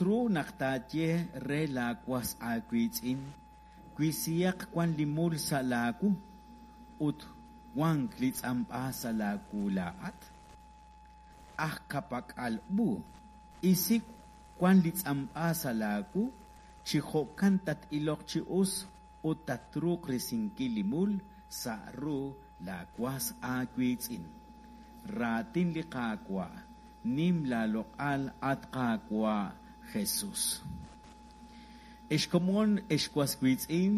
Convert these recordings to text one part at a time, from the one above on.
ru naq taaye re laawas aawiitz'in, Wisihaq wan li mul sa' laawu ut wank li tz'amb'a sa' laawu laa'at? Aj ka'pak'al u, isi wan li tz'amb'a sa' laawu, chi jo'kan tat-iloq chi us ut tatruuq risinkil li mul sa' ru laawas aawiitz'in. Raatin li Qaawa', nim laaloq'al, at Qaawa' Jesús. Ex komon, ex was wiitz'in,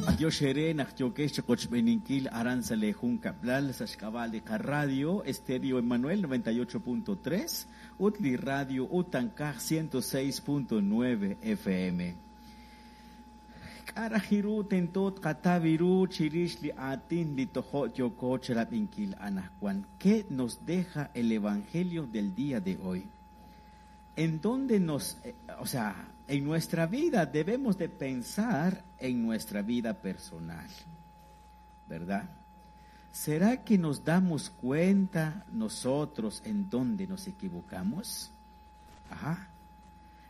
b'antiox eere naq yookex chiqochb'eeninkil aran sa' lee junkab'lal sa' xk'ab'a' li qaradio Estéreo Emmanuel 98.3 ut li radio Utankaj 106.9 FM. K'a' raj ru tento tqataw ru chirix li aatin li tojo' yooko chirab'inkil anaqwan? ¿Qué nos deja el evangelio del día de hoy? En dónde nos, o sea, en nuestra vida debemos de pensar en nuestra vida personal, ¿verdad? ¿Será que nos damos cuenta nosotros en dónde nos equivocamos? Ajá.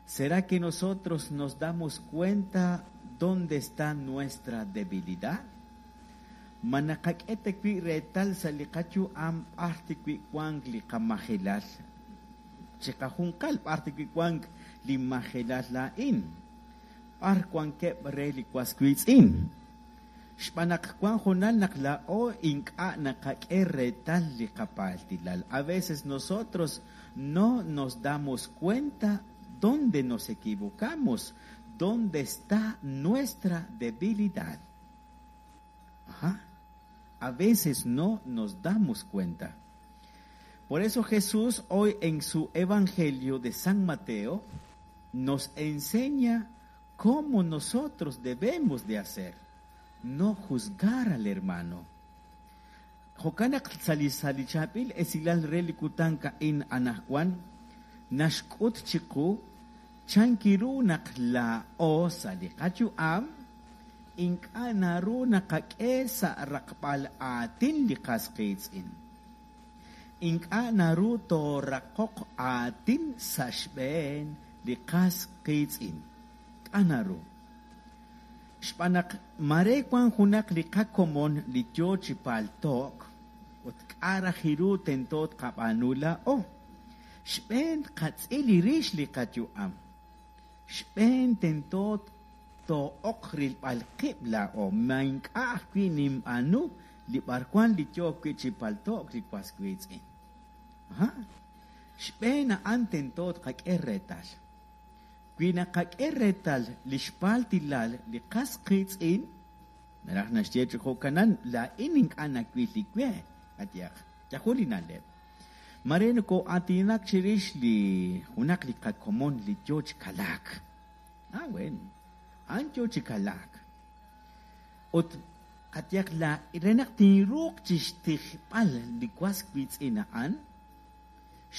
¿Será que nosotros nos damos cuenta dónde está nuestra debilidad? Ma naqak'e ta wi' reetal sa' li qayu'am b'ar ta wi' wank li qamajelal? Chiqajunqal b'ar ta wi' wank li majelal laa'in? B'ar wankeb' re li was wiitz'in? Xb'aan naq wan hoonal naq laa'o ink'a' naqak'e reetal li qapaltilal. A veces nosotros no nos damos cuenta dónde nos equivocamos, dónde está nuestra debilidad. Ajá. A veces no nos damos cuenta. Por eso Jesús hoy en su Evangelio de San Mateo nos enseña cómo nosotros debemos de hacer. No juzgar al hermano. Jo'kan naq sa' li sa' li chaab'il esilal re li kutan a'in anaqwan naxk'ut chiqu chan ru naq laa'o sa' li qayu'am ink'a' naru naqak'e sa' raqb'al aatin li qas qiitz'in. Ink'a' naru tooraqoq aatin sa' xb'een li qas qiitz'in. K'a' naru? Xb'aan naq mare wan junaq li qakomon li yoo chi palto'k ut k'a' raj ru tento tqab'aanu laa'o. Xb'een tqatz'il rix li qayu'am. Xb'een tento too'oq rilb'al qib' laa'o. Ma ink'a' ajwi' ninb'aanu li b'arwan li yoo wi' chi palto'k li was wiitz'in. Aha. Xb'een a'an tento tqak'e reetal. Wi naqak'e reetal li xpaltilal li qas qiitz'in, naraj naxye chi jo'kanan laa'in ink'a' nawil li we, qayehaq, yajul li na'leb'. Mare nokoo'aatinak chirix li junaq li qakomon li yoo chi kalaak. Ah, bueno, a'an yoo chi kalaak. Ut qayehaq la re naq tinruuq chixtijb'al li was wiitz'in a'an,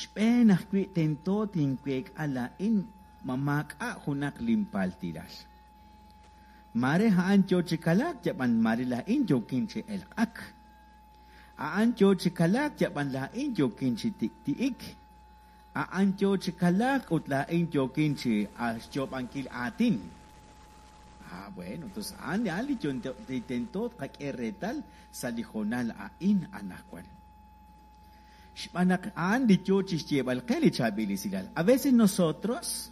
xb'een ajwi' tento tinweek'a laa'in ma maak'a' junaq linpaltilal. Mare a'an yoo chi kalaak, yab'an mare laa'in yookin chi elq'ak. A'an yoo chi kalaak, yab'an laa'in yookin chi tik'ti'ik. A'an yoo chi kalaak ut laa'in yookin chi xyoob'ankil aatin. Ah, bueno, entonces a'an a'an li li tento tqak'e reetal sa' li hoonal a'in anaqwan. Xb'aan naq a'an li yoo chixyeeb'al qe li chaab'il esilal. A veces nosotros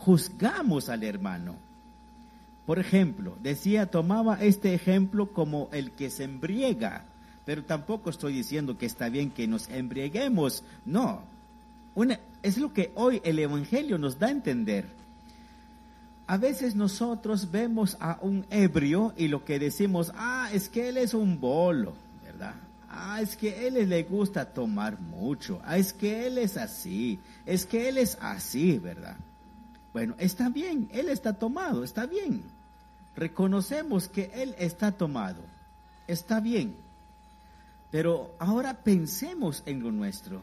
juzgamos al hermano. Por ejemplo, decía, tomaba este ejemplo como el que se embriaga, pero tampoco estoy diciendo que está bien que nos embriaguemos, no. Es lo que hoy el Evangelio nos da a entender. A veces nosotros vemos a un ebrio y lo que decimos, ah, es que él es un bolo, ¿verdad? Ah, es que él le gusta tomar mucho, ah, es que él es así, es que él es así, ¿verdad? Bueno, está bien, él está tomado, está bien. Reconocemos que él está tomado, está bien. Pero ahora pensemos en lo nuestro.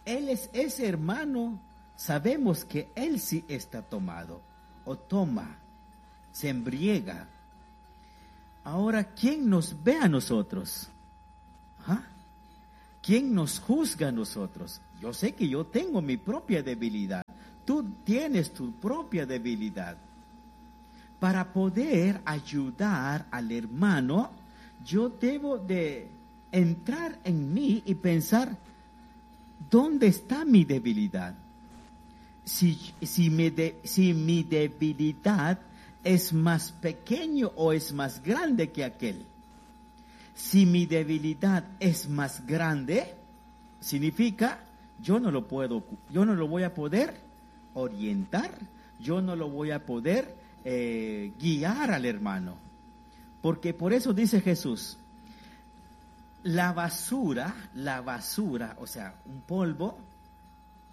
Él es ese hermano, sabemos que él sí está tomado, o toma, se embriaga. Ahora, ¿quién nos ve a nosotros? ¿Ah? ¿Quién nos juzga a nosotros? Yo sé que yo tengo mi propia debilidad. Tú tienes tu propia debilidad. Para poder ayudar al hermano, yo debo de entrar en mí y pensar, ¿dónde está mi debilidad? Si mi debilidad es más pequeño o es más grande que aquel. Si mi debilidad es más grande, significa yo no lo puedo, yo no lo voy a poder orientar, yo no lo voy a poder guiar al hermano. Porque por eso dice Jesús, la basura, o sea, un polvo,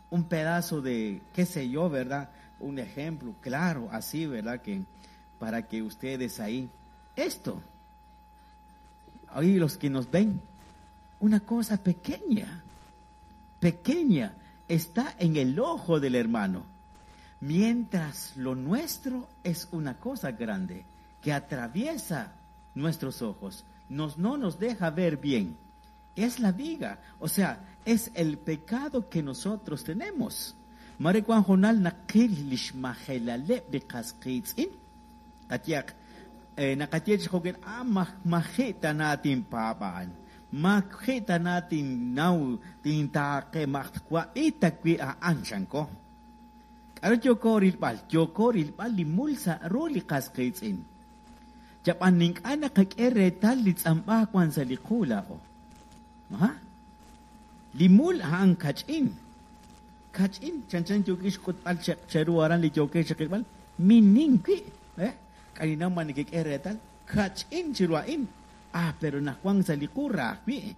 un pedazo de, qué sé yo, ¿verdad? Un ejemplo claro, así, ¿verdad? Que para que ustedes ahí, esto, ahí los que nos ven, una cosa pequeña, pequeña, está en el ojo del hermano, mientras lo nuestro es una cosa grande que atraviesa nuestros ojos, no nos deja ver bien. Es la viga, o sea, es el pecado que nosotros tenemos. Mare wan jonal naqil lix majelaleb li qas qiitz'in. Qayaq naqaye chi jo'kan, majita na tinpaab'an, majita na tinnaw tintaaqe majtwa'ita wi a'an chanko. K'aru yooko rilb'al li mul sa' ru li qas qiitz'in. Chab'an nink'a naqak'e reetal li tz'amb'a wan sa' li qu laa'o. Aha. Li mul a'an kach'in. Kach'in, chanchan yookix k'utb'al cheru aran li yookix chiqilb'al, minin wi', k'aninaw ma nikik'e reetal, kach'in chiru a'in. Ah, pero naq wan sa' li qu raaj wi'.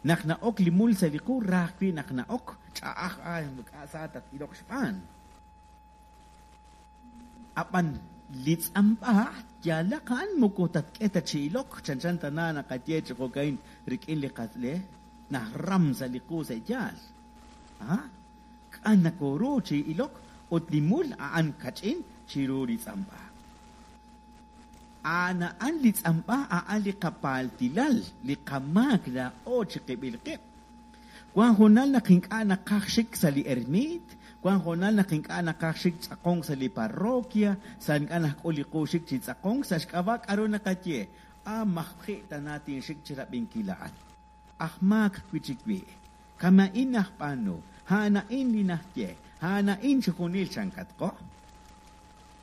Naq na'ok li mul sa' li qu raaj wi' naq na'ok, ch'a'aj, k'a sa tat-iloq xb'aan. Ab'an li tz'amb'a yalaq a'an moko tatk'e ta chi ilok, chanchan tana naqaye chi jo'kain rik'in li qasle, naj ram sa' li qu sa' yaal. Ah, k'an nakoru chi ilok ut li mul a'an kach'in chiru li tz'amb'a. A'an li tz'amb'a a'an li qapaltilal, li qamaak laa'o chi qib'il qib'. Wan jonal naq ink'a' naqaj xik sa' li ermit, wan jonal naq ink'a' naqaj xik tz'aqonk sa' li parroquia, sa' ink'a' naqk'ul li qu xik chi tz'aqonk, sa' xk'ab'a' k'aru naqaye, majji' tana tinxik chi rab'inkil a'an. Aj maak wi' chik wi', kama'in najb'aanu, a'an li najye, a'an chi junil chankatqo.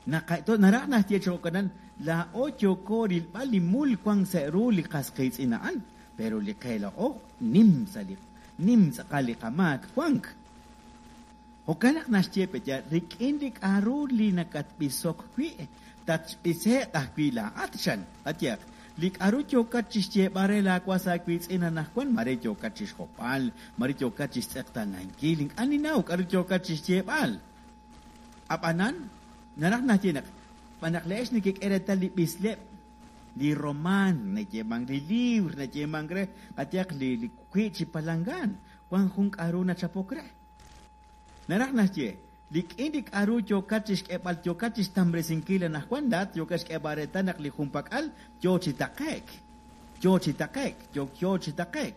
Naraj najye chi jo'kanan, laa'o yooko rilb'al li mul wan sa' ru li qas qiitz'in a'an, pero li qe laa'o nim sa' li nim tz'aqal li qamaak wank. Jo'kan naq naxye peya, rik'in li k'aru li nakatb'isok wi', tatb'ise'q ajwi' laa'at xan. Qayaq, li k'aru yookat chixyeeb'al re laawas aawiitz'in anaqwan, mare yookat chixjob'al, mare yookat chixtz'eqtanankil, ink'a' ninaw k'aru yookat chixyeeb'al. Ab'anan, naraj naxye naq, b'anaq le'ex nekek'e reetal li b'isleb', li román, nayeemank li libr, nayeemank re, qayaq li wi' chi palangan, wan jun k'aru nachapok re. Naraj naxye, rik'in li k'aru yookat chixk'eeb'al, yookat chixtamresinkil anaqwan, laat yookat xk'eeb'al reetal naq li junpak'al yoo chi taqe'k, yoo chi taqe'k, yoo chi taqe'k.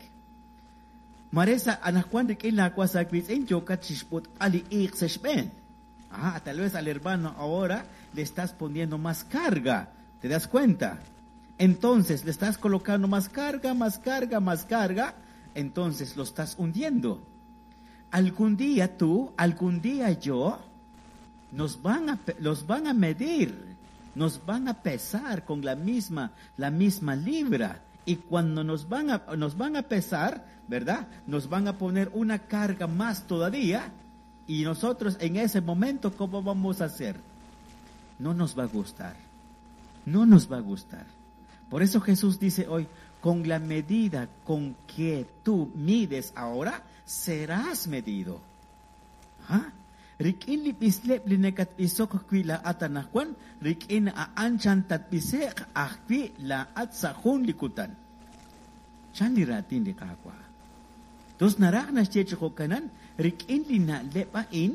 Mare sa' anaqwan rik'in laawas aawiitz'in yookat chixb'ut'b'al li iiq sa' xb'een. Ah, tal vez al hermano ahora le estás poniendo más carga, ¿te das cuenta? Entonces le estás colocando más carga, más carga, más carga, entonces lo estás hundiendo. Algún día tú, algún día yo, los van a medir, nos van a pesar con la misma libra. Y cuando nos van a pesar, ¿verdad? Nos van a poner una carga más todavía. Y nosotros en ese momento, ¿cómo vamos a hacer? No nos va a gustar. No nos va a gustar. Por eso Jesús dice hoy, con la medida con que tú mides ahora, serás medido. ¿Ah? Rik'in li b'isleb' li nakatb'isok wi' laa'at anaqwan, rik'in a'an chan tatb'ise'q ajwi' laa'at sa' jun li kutan. Chan li raatin li Qaawa'. Tos naraj naxye chi jo'kanan, rik'in li na'leb' a'in,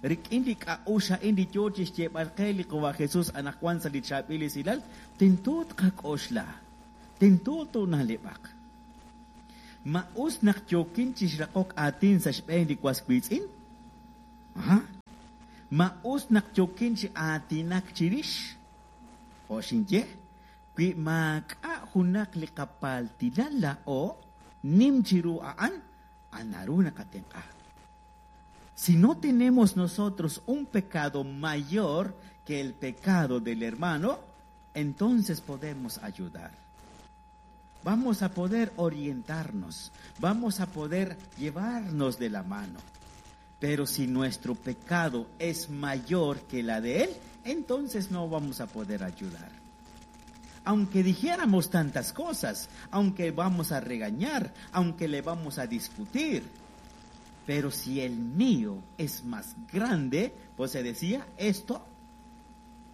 rik'in li k'a'ux a'in li yoo chi xyeeb'al qe li Qawa' Jesús anaqwan sa' li chaab'il esilal, tento tqak'oxla, tento toona'leb'aq. Ma us naq yookin chi xraqok aatin sa' xb'een li was wiitz'in? Aha. Ma us naq yookin chi aatinak chirix? Jo' xinye, wi maak'a' junaq li qapaltilal laa'o nim chiru a'an, naru naqatenq'a. Si no tenemos nosotros un pecado mayor que el pecado del hermano, entonces podemos ayudar. Vamos a poder orientarnos, vamos a poder llevarnos de la mano. Pero si nuestro pecado es mayor que la de él, entonces no vamos a poder ayudar. Aunque dijéramos tantas cosas, aunque vamos a regañar, aunque le vamos a discutir, pero si el mío es más grande, pues se decía esto,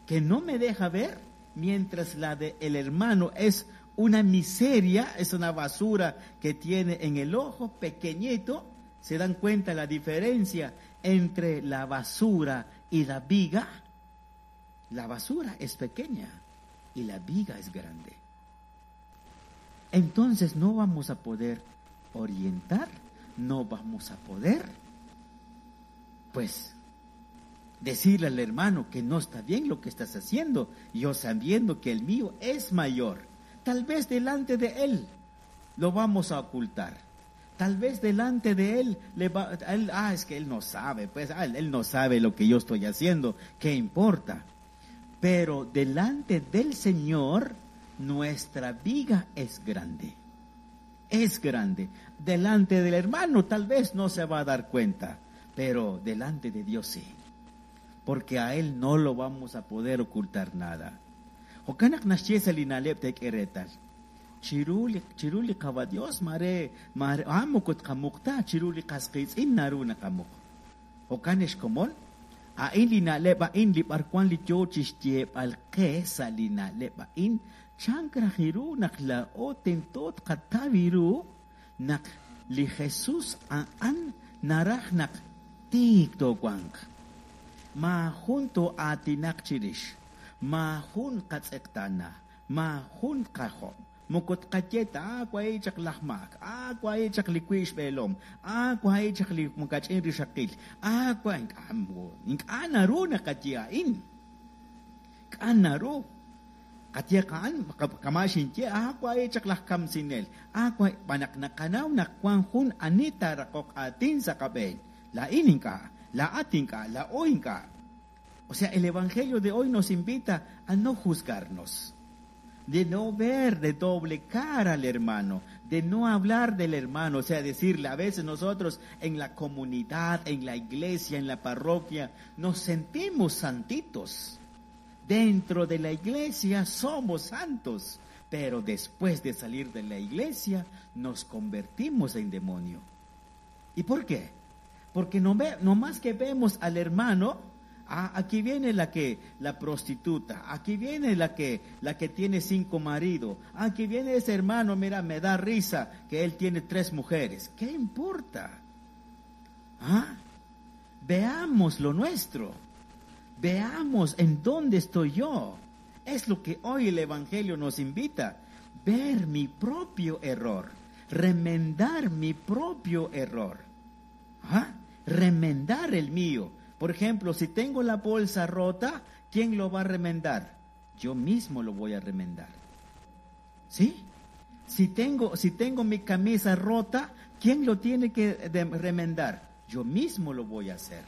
que no me deja ver, mientras la de el hermano es una miseria, es una basura que tiene en el ojo pequeñito. ¿Se dan cuenta la diferencia entre la basura y la viga? La basura es pequeña y la viga es grande. Entonces no vamos a poder orientar, no vamos a poder, pues, decirle al hermano que no está bien lo que estás haciendo, yo sabiendo que el mío es mayor. Tal vez delante de él lo vamos a ocultar. Tal vez delante de él, le va, él, es que él no sabe, pues, él no sabe lo que yo estoy haciendo, ¿qué importa? Pero delante del Señor, nuestra viga es grande. Es grande. Delante del hermano tal vez no se va a dar cuenta, pero delante de Dios sí. Porque a él no lo vamos a poder ocultar nada. Jo'kan naq naxye sa li na'leb' teek'e reetal. Chiru li, chiru li Qawa Dios mare, mare, moko tqamuq ta, chiru li qas qiitz'in naru naqamuq. Jo'kan ex komon, a'in li na'leb' a'in li b'arwan li yoo chixyeeb'al qe sa' li na'leb' a'in, chank raj ru naq laa'o tento tqataw ru naq li Jesus a'an naraj naq tiik toowanq. Maajun too'aatinaq chirix, maajun qatz'eqtaana, maajun qajob'. Moko tqaye ta, wahi' chaq laj maak, wahi' chaq li wi' xb'eelom, wahi' chaq li kach'in rixaqil, wa' ink'a' naru naqaye a'in. K'a' naru. Qaye qa'an, kama' xinye, wahi' chaq laj kamsinel, wahi', b'anaq naqanaw naq wan jun ani taaraqoq aatin sa' qab'een. La'in ink'a', la'at ink'a', la'o ink'a'. O sea, el Evangelio de hoy nos invita a no juzgarnos, de no ver de doble cara al hermano, de no hablar del hermano, o sea, decirle, a veces nosotros en la comunidad, en la iglesia, en la parroquia, nos sentimos santitos. Dentro de la iglesia somos santos, pero después de salir de la iglesia nos convertimos en demonio. ¿Y por qué? Porque no, ve, no más que vemos al hermano, aquí viene la prostituta, aquí viene la que tiene 5 maridos, aquí viene ese hermano, mira, me da risa que él tiene 3 mujeres. ¿Qué importa? ¿Ah? Veamos lo nuestro, veamos en dónde estoy yo. Es lo que hoy el Evangelio nos invita, ver mi propio error, remendar mi propio error. ¿Ah? Remendar el mío. Por ejemplo, si tengo la bolsa rota, ¿quién lo va a remendar? Yo mismo lo voy a remendar. ¿Sí? Si tengo mi camisa rota, ¿quién lo tiene que remendar? Yo mismo lo voy a hacer.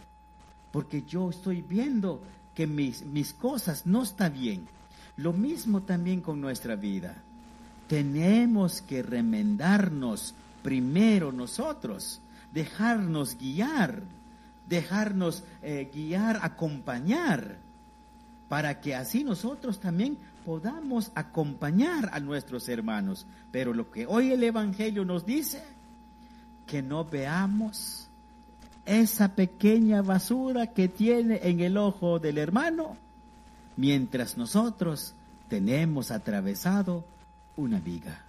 Porque yo estoy viendo que mis cosas no están bien. Lo mismo también con nuestra vida. Tenemos que remendarnos primero nosotros, dejarnos guiar, dejarnos guiar, acompañar, para que así nosotros también podamos acompañar a nuestros hermanos. Pero lo que hoy el Evangelio nos dice, que no veamos esa pequeña basura que tiene en el ojo del hermano, mientras nosotros tenemos atravesado una viga.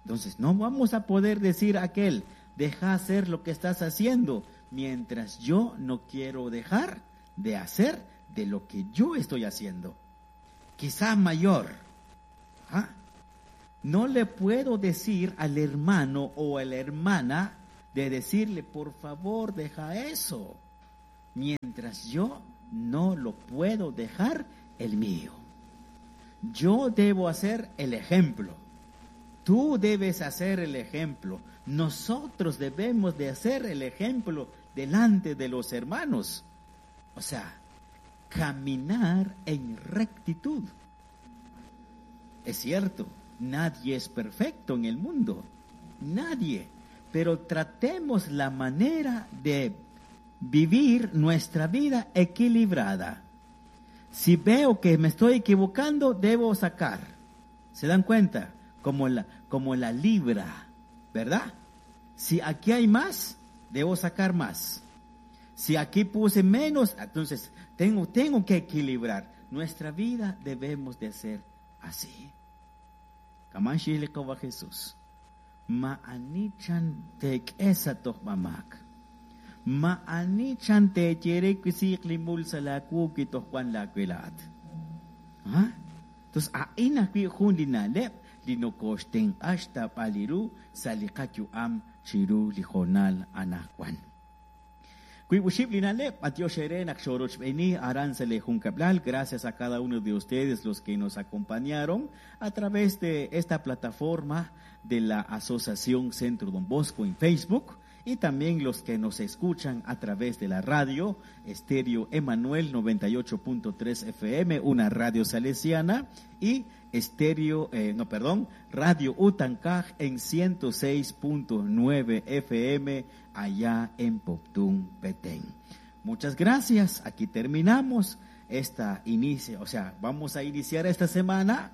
Entonces no vamos a poder decir a aquel, deja hacer lo que estás haciendo, mientras yo no quiero dejar de hacer de lo que yo estoy haciendo. Quizá mayor. ¿Ah? No le puedo decir al hermano o a la hermana de decirle, por favor, deja eso, mientras yo no lo puedo dejar el mío. Yo debo hacer el ejemplo. Tú debes hacer el ejemplo. Nosotros debemos de hacer el ejemplo delante de los hermanos. O sea, caminar en rectitud. Es cierto, nadie es perfecto en el mundo. Nadie. Pero tratemos la manera de vivir nuestra vida equilibrada. Si veo que me estoy equivocando, debo sacar. ¿Se dan cuenta? Como la libra, ¿verdad? Si aquí hay más, debo sacar más. Si aquí puse menos, entonces tengo que equilibrar. Nuestra vida debemos de ser así. Jesús. Ma'anichan tek'esa tojmamak. Ma'anichan techerekuisiq limul salakuki tojwan lakuilat. Entonces, a'in ajwi' jun li na'leb' li nokoxtenq'a xtab'al sa' li qayu'am chiru li jonal anaqwan. Wiib' li na'leb', b'antiox eere naq xorochb'eni aran sa' li junkablal. Gracias a cada uno de ustedes los que nos acompañaron a través de esta plataforma de la Asociación Centro Don Bosco en Facebook y también los que nos escuchan a través de la radio Estéreo Emanuel 98.3 FM, una radio salesiana, y Radio Utancaj en 106.9 FM allá en Poptún, Petén. Muchas gracias. Aquí terminamos esta inicio, o sea, vamos a iniciar esta semana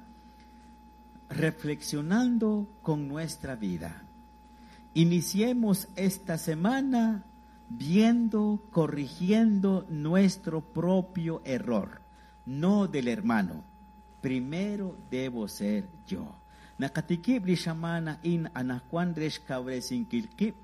reflexionando con nuestra vida. Iniciemos esta semana viendo, corrigiendo nuestro propio error, no del hermano. Primero debo ser yo. Nakatikib li xamana in anaqwan re xkawresinkil qib',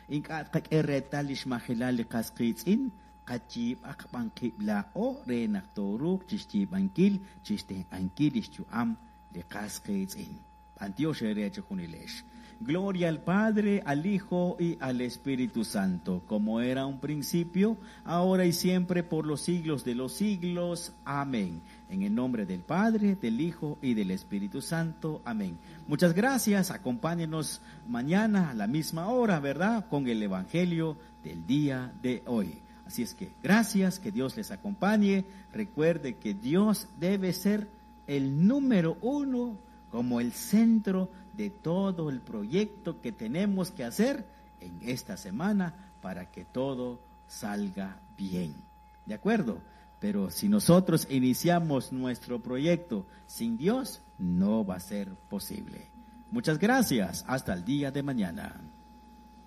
ink'a' qak'e reetal li xmajilal li qas qiitz'in, qayiib'aq b'an qib' laa'o re naq tooruuq chixyiib'ankil, chixtenq'ankil li xyu'am li qas qiitz'in. B'antiox eere chijunilex. Gloria al Padre, al Hijo y al Espíritu Santo, como era un principio, ahora y siempre, por los siglos de los siglos. Amén. En el nombre del Padre, del Hijo y del Espíritu Santo. Amén. Muchas gracias. Acompáñenos mañana a la misma hora, ¿verdad? Con el Evangelio del día de hoy. Así es que gracias, que Dios les acompañe. Recuerde que Dios debe ser el número uno como el centro de todo el proyecto que tenemos que hacer en esta semana para que todo salga bien. ¿De acuerdo? Pero si nosotros iniciamos nuestro proyecto sin Dios, no va a ser posible. Muchas gracias. Hasta el día de mañana.